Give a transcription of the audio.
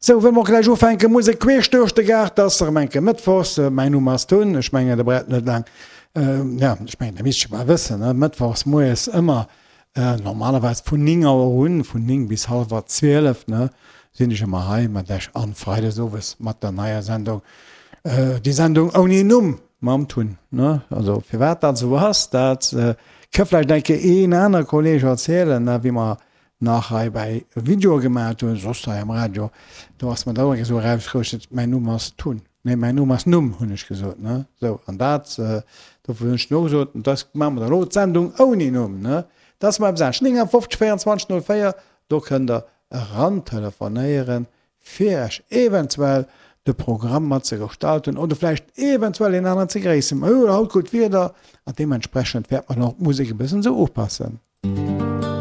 Sou, wëlle mer och gläich ufänken, Musek queesch duerch de Gaart, ass erëm eng Kéier Mëttwochs. Mäin Numm ass Tun, ech mengen, der braucht net laang, ja, ech mengen, der misst scho bal wëssen, ne, Mëttwochs moies ëmmer, normalerweis vun 9 Auer un, vun 9 bis hallwer 12, ne, sinn ech ëmmer hei mat lech an Freides owes mat der neier Sendung, déi Sendung ouni Numm mam Tun, ne. Also, firwat dat esou ass, dat ka vläicht eng Kéier een aner Kolleg erzielen, ne, wéi mer nach hei bäi Videoe gemaacht hunn, soss hei am Radio, do ass mer da och eng Kéier esou erausgerutscht, mäin Numm ass Tun, nee, mäin Numm ass Numm, hunn ech gesot, ne, sou, an dat, dofir hunn ech dann och gesot, dat maache mer dann elo, d'Sendung ouni Numm, ne, dat ass mer eppes anescht. 59 24 04, do kënnt Der erantelefonéieren, fir Iech eventuell de Programm mat ze gestalten oder vläicht eventuell een aneren ze gréissen. Mer hu jo haut gutt Wieder an deementsprechend wäerte mer dann och d'Musek e bëssen esou upassen.